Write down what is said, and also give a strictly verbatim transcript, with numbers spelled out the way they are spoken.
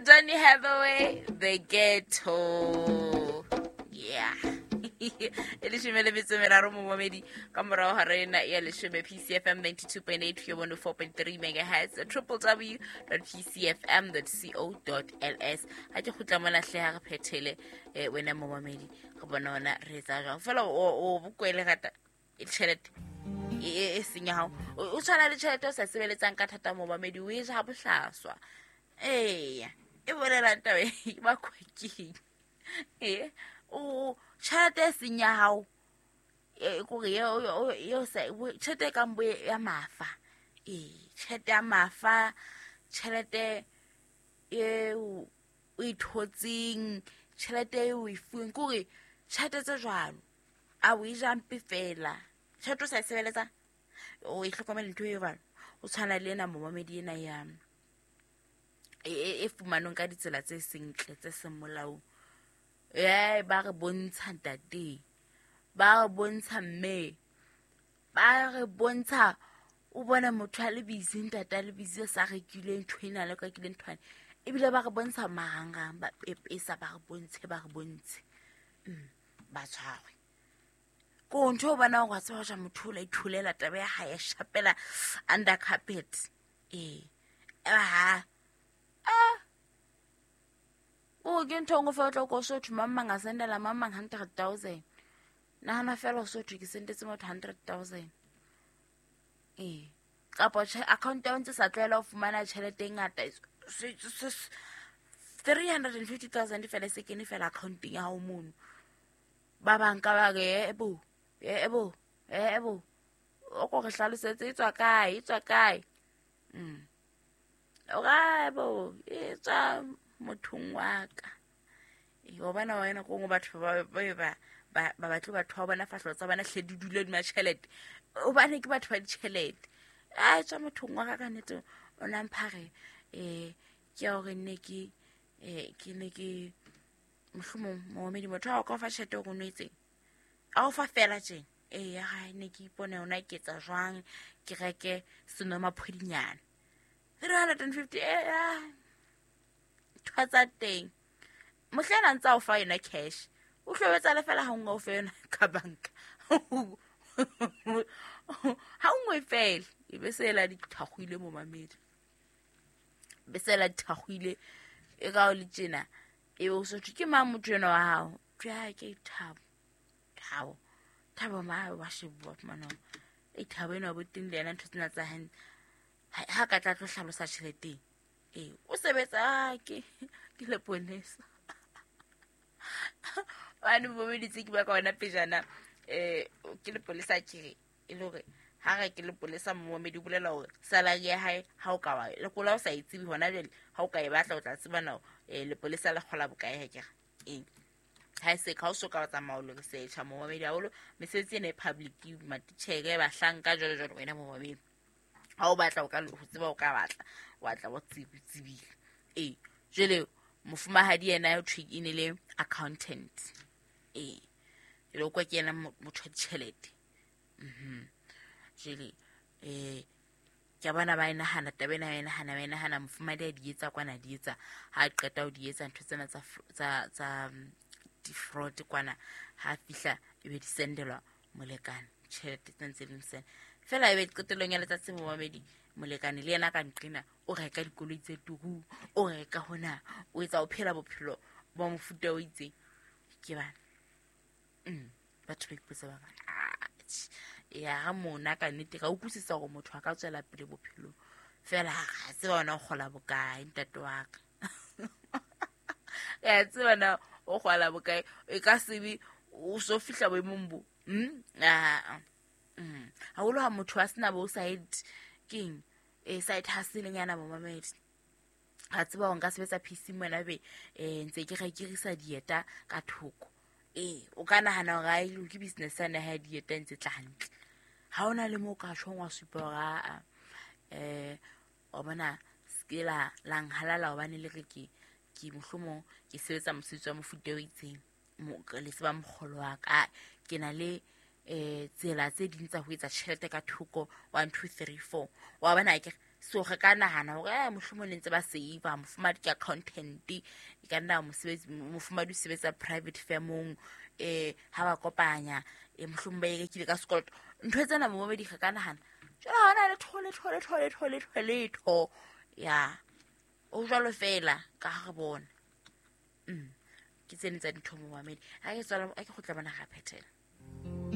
Donny Hathaway, The Ghetto. Yeah. E leshome le metso e meraro momamedi ka morao ga rena ya leshome P C F M ninety-two point eight one oh four point three megahertz triple w dot p c f m dot co dot l s. Ha ke kgutla mona hle ha re phethele eh, wena momamedi re bona ona re etsa jwang fela o bokwele rata e tjhelete e e seng ya hao o tshwana le tjhelete o sa sebeletsang ka thata momamedi o e ja bohlaswa. Eya e bolela taba e ba kwekeng eh o tjhelete e seng ya hao e kore eo sa tjhelete e kang bo ya mafa ee tjhelete ya mafa tjhelete eo o ithotseng tjhelete eo o e fuweng kore tjhelete tse jwalo a o e ja mpe fela tjhelete o sa e sebeletsang o e hlokomele ntho e jwalo o tshwana le ena momamedi ena ya e fumanong ka ditsela tse sentle tse seng molaong. Eh ba re bontsha ntate ba re bontsha mme ba re bontsha o bona motho a le busy ntate a le busy sa rekile ntho ena le ka kile nthwane ebile ba re bontsha marangrang ba pepesa ba re bontshe ba re bontshe mm ba tshwarwe ko ntho o bona o tswa ja motho o la ithulela taba ya hae shapela under carpet eh ha ah o ke ntho ngwe fela tlo ko sotho mamma nga sendela mamma hundred thousand nahana fela o sotho ke sendetse motho hundred thousand eh kapa account ya ntse sa tlwaela ho fumana tjhelete e ngata three hundred fifty thousand fela se kene fela accounteng ya hao mono ba banka ba re ebo ebo ebo o ko re hlalosetse e tswa kae e tswa kae mm o ga ebo e tswa mothong wa ka e o bana wena go ngo batho ba ba ba ba batle batho ba bona fahlo tsa bona hle di dule di matjhelete o bane ke batho ba ditjhelete a tswa mothong wa ka ka nnete o na mphare eh ke hore nne ke eh ke ne ke mohlomong momedi motho a ka fa tjhelete o nwetseng a o fa fela tjeng eh ya ga ne ke ipone ona ke etsa jwang ke reke senomaphodinyana three hundred fifty eh tsa teng mohlena ntsa o fa yona cash o hlobetsa le fela ha nngwe o fa yona ka banka ha nngwe fela e be sela di thakgwile mo mamedi be sela di thakgwile e ka o le tjena e be o so ke mang motho ena wa hao tja ke thabo thabo thabo ma wa shebua fumana e thabo ena bo teng le yena ntho tsena tsa hantle ha ka tla tlo hlalosa tjheleteng eh o sebetsa ke ke le ponesa wa ne bo meditse ke ba ka ona pejana eh ke le polesa ke e le hore ha re ke le polesa momedi bolela hore salary ya hae ha o ka wa le kola o sa itsibi hona jwale ha o ka e batla o tla tseba na eh le polesa le kgola bokae ha ke re eng ha se ka o so ka tsamaya o le search momedi haholo mesebetsi ena e public matitjhere bahlanka jwalo jwalo wena momedi ha o batla o ka ho tseba o ka batla wa tla o tsebile eh jwale mofumahadi yena o thwe e ne le accountant eh jwale o kwa ke yena motho wa ditjhelete mhm jwale eh ke bona ba nahana taba ena ba nahana ba nahana mofumahadi a di etsa kwana di etsa ha qeta ho di etsa ntho tsena tsa tsa tsa di fraud kwana ha fihla e be di sendelwa molekane tjhelete tse ntse di msena fela e be qetellong ya letsatsi momamedi molekane le yena ka nqena o reka dikoloi tse turu o reka hona o etsa o phela bophelo ba mofuta o itseng ke bana mm batho ba ipotsa ba ya ha mona ka nnete ka utlwisisa hore motho a ka tswela pele bophelong fela ha tseba ona o kgola bokae ntate wa ka ya tseba na o kgola bokae e ka sebe o so fihla boemong bo mm ah mm haholo ha motho a sena bo side keng e side hustle nyana momamedi ha tseba o nka sebetsa P C mona be eh ntse ke rekirisa dieta ka thoko eh o ka nahana hore ai ke business ana ha dieta ntse tla hantle ha ona le mo ka tshong wa supa hore a eh o bona skela lang halala hobane le re ke ke mohlomong ke sebetsa mosebetsi wa mofuta o itseng le tseba mokgolo wa ka ke na le eh tsela tse ding tsa ho etsa tjhelete ka thoko one two three four wa bona ke So re ka nahana hore eh mohlomong ne ntse ba save, mofumadi ke accountant, e ka nna mosebetsi, mofumadi o sebetsa private firmong, eh ha ba kopanya eh mohlomong ba e rekile ka sekoloto. Ntho tsena momamedi re ka nahana. Jwale ha hona letho letho letho letho letho letho. Ya o jwalo fela ka ha re bona. Mm. Ke tsene tsa dintho momamedi. Ha ke tswala, ha ke kgutla bona ga phethela.